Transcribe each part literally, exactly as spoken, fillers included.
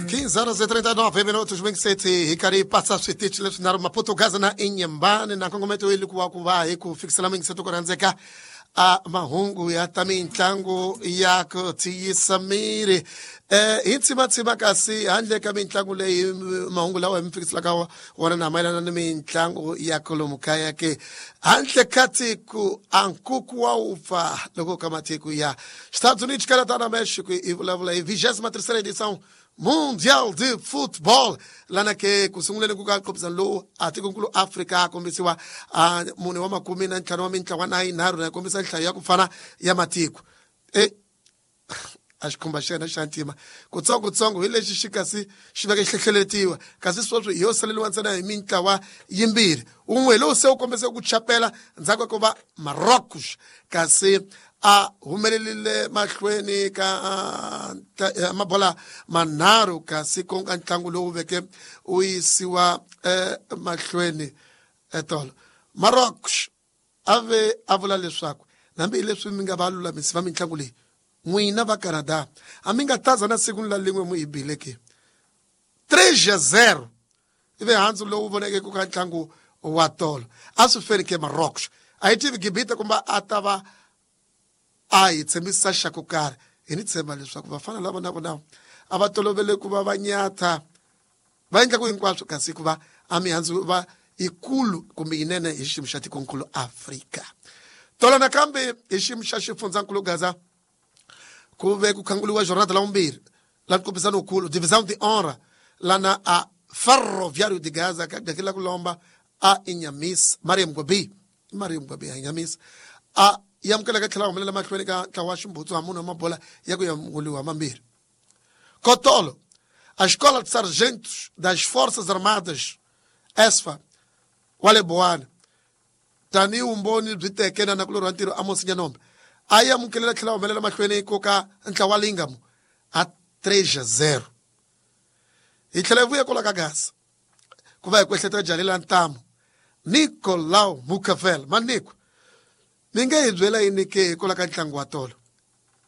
quinze horas e trinta e nove minutos, Wing City hi karhi hi pasa switichi leswinharhu Maputo, Gaza na Inhambane na nkongometo yi ku wa ku va hi ku fikisela Wing City ku rhandzeka a mahungu ya ta mitlangu ya ku tiyisa miri eh hi tsimatsima kasi handle ka mitlangu leyi mahungu lawa hi mi fikiselaka wona na mayelana ni mitlangu ya kolomu kaya ke handle ka tiko a nkuku wa wupfa loko ka matiko ya Estados Unidos, Canadá na México i vulavula hi vigésima terceira edição Mundial de Futebol lana ke ku sunguleni ku ka nqophisano lowu a tikonkulu Afrika a kombisiwa a mune wa makume na ntlhanu wa mintlawa na yinharhu na kombisa nhlayo ya ku fana ya matiko e a xikhumba xa yena xa ntima kutsongotsongo hi lexi xi kasi xi veke xi hlehleletiwa kasi sweswi hi yo saleriwa ntsena hi mintlawa yimbirhi wun'we lowu se wu kombise ku chapela ndzhaku ka ku va Marocos kasi a humelerile mahlweni ka mabola manharhu kasi ku nga ntlangu lowu veke wu yisiwa mahlweni etolo Marocos a ve a vula leswaku hambi leswi mi nga va lulamisi va mitlangu leyi n'wina va Canada a mi nga taza na siku la lin'we mu hi bile ke três a zero ivi handzu lowu voneke ku ka ntlangu wa tolo a swi feni ke Marocos a yi tivi Gibita kumbe a ta va a hi tshembisa xa ku karhi hi ni tshemba leswaku vafana lava na vona a va tolovele ku va va nyatha va endla ku hinkwaswo kasi ku va a mihandzu va yikulu kumbe yinene hi xiyimo xa tikonkulu Afrika tolo nakambe hi xiyimo xa xifundzankulu Gaza ku ve ku khanguliwa jornada la vumbirhi la nkombisano wukulu Divisão de Honra lana a Ferroviário de Gaza ka gakela ku lomba a Inhamisa Mariam Gobi Mariam Gobi a Inhamisa a yamukeleka tlhela humelela mahlweni ka ntlawa wa ximbutsu wa munhu wa mabola ya ku yamukeliwa mambirhi Kotolo a Escola de Sargentos das Forças Armadas E S F A wa le Boane tanihi vumbhoni byi teke na nakulorhi wa ntirho Amos Nyanombe a yamukelela tlhela humelela mahlweni ko ka ntlawa wa Lingamo a três a zero hi tlhela hi vuya kwala ka Gaza ku va hi ku ehleketa jalela ntamu Nicolau Mucavel Maniko mi nge hi byela yini ke hikwalaho ka ntlangu wa tolo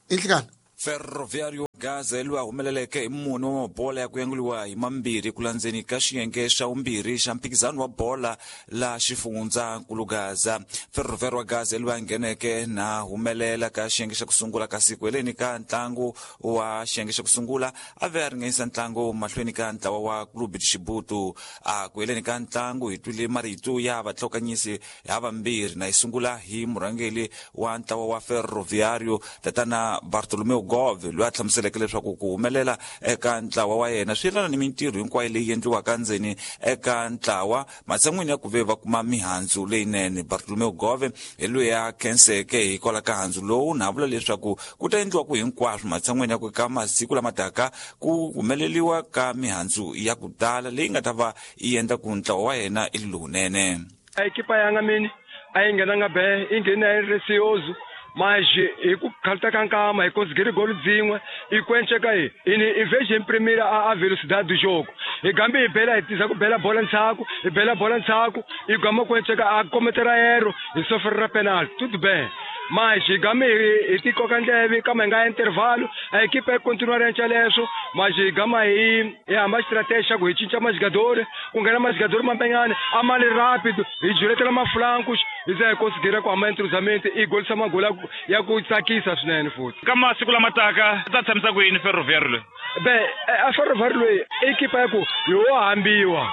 i nhlikani? Ferroviário Gaza loyi a humeleleke hi mune wa mabola ya ku yanguliwa hi mambirhi ku landzeni ka xiyenge xa vumbirhi xa mphikizano wa bola la xifundzankulu Gaza. Ferroviário wa Gaza loyi a ngheneke na humelela ka xiyenge xa ku sungula kasi ku heleni ka ntlangu wa xiyenge xa ku sungula a ve a ringanyisa ntlangu mahlweni ka ntlawa wa Clube de Chibuto. A ku heleni ka ntlangu hi twile marito ya vatlhokanyisi ha vambirhi na hi sungula hi murhangeri wa ntlawa wa Ferroviário tatana Bartolomeu Gove loyi a hlamuseleke leswaku ku humelela eka ntlawa wa yena swi yelana ni mintirho hinkwayo leyi endliwaka ndzeni eka ntlawa matshan'wini ya ku ve va kuma mihandzu leyinene. Bartolomeu Gove hi loyi a khenseke hikwalaho ka handzu lowu na vula leswaku ku ta endliwa ku hinkwaswo matshan'wini ya ku ka masiku lama taka ku humeleliwa ka mihandzu ya ku tala leyi nga ta va yi endla ku ntlawa wa yena i lowunene. A equipa yanga mini a yi nghenanga be yi nghene yi receoso mas hi ku khalta ka nkama hi conseguir golo dzin'we i kwenceka hi ini i vez de imprimir a, a velocidade do jogo hi gambe hi bela hi tisa ku bela bola ndzhaku hi bela bola ndzhaku hi gama kwenceka a kometera erro hi sofrera penalty, tudo bem, mas hi game hi hi tikoka ndleve kama hi nga intervalo a equipe yi continuar yenca leswo mas hi gama hi hi hamba estratégia xa ku hi cinca majogadores ku nghena majogadores mampenyane a ma li rápido hi juletela maflancos hi za hi conseguir ku hamba entrosamento i golisa magoli ya ku- ya ku tsakisa swinene futhi. Ka masiku lama taka ta tshamisa ku yini Ferroviário loyi? Be a Ferroviário loyi i equipa ya ku hi wo hambiwa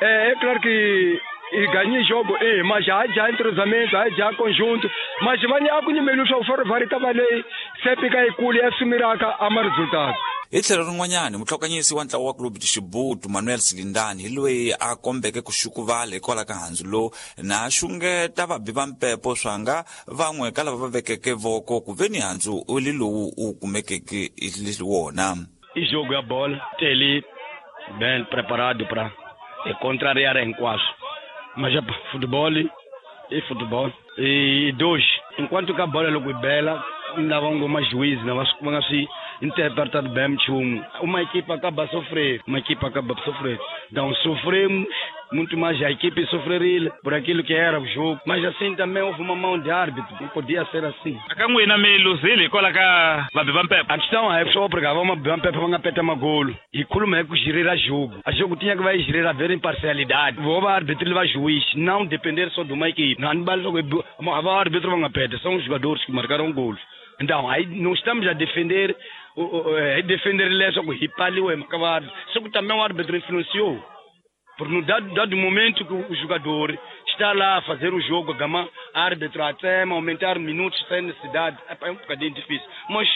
é, é claro que e ganhei jogo eh mas já já entrosamento já conjunto mas vanye a ku nyimeli swa Ferroviário ta va leyi sempre ka yikulu ya sumiraka ama resultado. Hi tlhelo rin'wanyana mutlhokanyisi wa ntlawa wa Clube de Chibuto Manuel Silindani hi loyi a kombeke ku xukuvala hikwalaho ka handzu lowu na xungeta vabi va mpepo swanga van'we ka lava va vekeke voko ku ve ni handzu u li lowu u kumekeke hi wona. I jogo ya bola tele bem preparado para contrariar hinkwaswo mas epa, futebol e futebol e dois enquanto que a bola loko yi bela lava ngoma juiz na va va nga swi interpretado bem nchumu uma equipe acaba a sofrer uma equipe acaba a sofrer, então sofremos. Muito mais a equipe sofreria por aquilo que era o jogo. Mas assim também houve uma mão de árbitro, não podia ser assim. A questão é só porque vamos vamos uma golo. E como é que gerir jogo? A jogo tinha que vai gerir a ver imparcialidade. O árbitro vai juiz, não depender só de uma equipe. Não o árbitro vão apertar, são os jogadores que marcaram golos. Então, aí não estamos a defender, a defender só que só que também o árbitro influenciou. Porque no dado, dado momento que o jogador está lá a fazer o jogo, a gama, árbitro até aumentar minutos sem necessidade, é um bocadinho difícil. Mas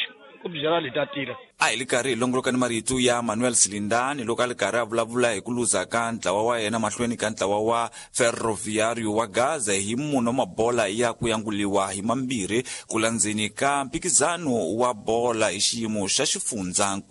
o geral está tira. A hi le karhi hi longoloka ni marito ya Manuel Silindani loko a li karhi a vulavula hi ku luza ka ntlawa wa yena mahlweni ka ntlawa wa Ferroviário wa Gaza hi munhu wa mabola ya ku yanguliwa hi mambirhi ku landzeni ka mphikizano wa bola hi xiyimo xa xifundzankulu.